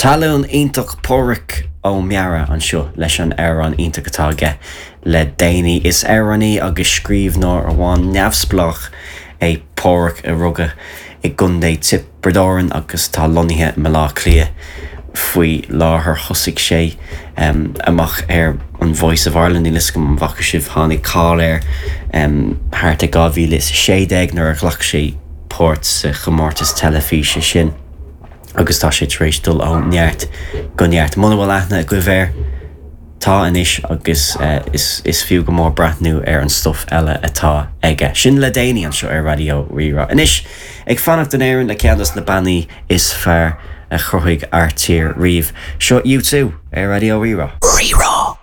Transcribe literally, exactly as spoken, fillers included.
Tallann iontach Páraic Ó Meara anseo leis an amhrán iontach atá aige le déanaí is amhránaí agus scríbhneoir amhráin neamhspleách é Páraic a rugadh i gContae Tiobraid Árann agus tá lonnaithe i mBaile Átha Cliath faoi láthair thosaigh sé um, amach ar an Voice of Ireland níl a fhios agam an bhfaca sibh tháinig cáil air um, thart i dhá mhíle is sé déag nuair a ghlac sé páirt sa chomórtas teilifíse sin. agus tá sé tar éis dul ó neart go neart. Muna bhfuil aithne agaibh air tá anois agus uh, is, is fiú go mór breathnú ar an stuff eile atá aige. Sin le déanaí anseo ar Raidió Rí-Rá. Anois ag fanacht in Éirinn le ceann de na bannaí is fearr a chruthaigh ár dtír riamh. Seo U two ar Raidió Rí-Rá. Rí-Rá.